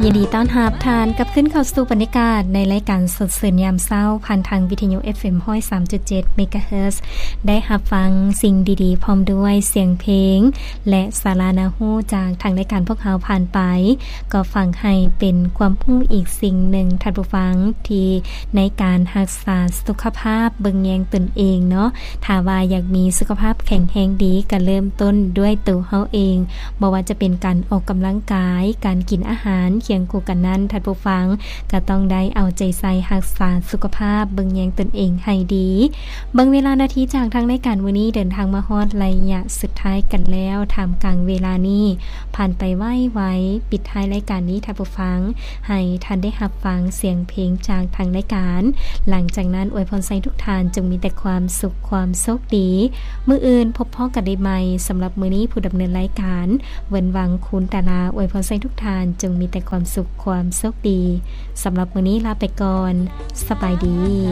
ຍິນດີຕ້ອນຮັບທ່ານກັບຄືນເຂົ້າສູ່ບັນຍາກາດໃນລາຍການສົດຊື່ນຍາມເຊົ້າ ຜ່ານທາງວິທະຍຸ ເອັຟເອັມ ຮ້ອຍສາມຈຸດເຈັດ ເມກາເຮີດ ໄດ້ຮັບຟັງສິ່ງດີໆ ພ້ອມດ້ວຍສຽງເພງ ແລະ ສາລະໜ້າຮູ້ຈາກທາງລາຍການພວກເຮົາຜ່ານໄປ ກໍຝັງໃຫ້ເປັນຄວາມຮູ້ອີກສິ່ງໜຶ່ງ ທ່ານຜູ້ຟັງ ທີ່ໃນການຮັກສາສຸຂະພາບເບິ່ງແຍງຕົນເອງເນາະ ຖ້າວ່າຢາກມີສຸຂະພາບແຂງແຮງດີ ກໍເລີ່ມຕົ້ນດ້ວຍໂຕເຮົາເອງ ບໍ່ວ່າຈະເປັນການອອກກຳລັງກາຍ, ການກິນອາຫານຄຽງຄູ່ກັນນັ້ນ ທ່ານຜູ້ຟັງ ກໍຕ້ອງໄດ້ເອົາໃຈໃສ່ຮັກສາສຸຂະພາບເບິ່ງແຍງຕົນເອງໃຫ້ດີ. ເບິ່ງເວລານາທີຈາກທາງລາຍການມື້ນີ້ ເດີນທາງມາຮອດໄລຍະສຸດທ້າຍກັນແລ້ວ ທ່າມກາງເວລານີ້ຜ່ານໄປໄວໆ. ປິດທ້າຍລາຍການນີ້ ທ່ານຜູ້ຟັງ ໃຫ້ທ່ານໄດ້ຮັບຟັງສຽງເພງຈາກທາງລາຍການ. ຫຼັງຈາກນັ້ນ ອວຍພອນໃຫ້ທຸກທ່ານຈົ່ງມີແຕ່ຄວາມສຸກ, ຄວາມໂຊກດີ. ມື້ອື່ນພົບພໍ້ກັນໄດ້ໃໝ່. ສຳລັບມື້ນີ້ ຜູ້ດຳເນີນລາຍການ ເວິນຫວັງ ຄູນຕາລາ ອວຍພອນໃຫ້ທຸກທ່ານຈົ່ງມີແຕ່ຄວາມສຸກ, ຄວາມໂຊກດີ. ສຳລັບມື້ນີ້ລາໄປກ່ອນ. ສະບາຍດີ.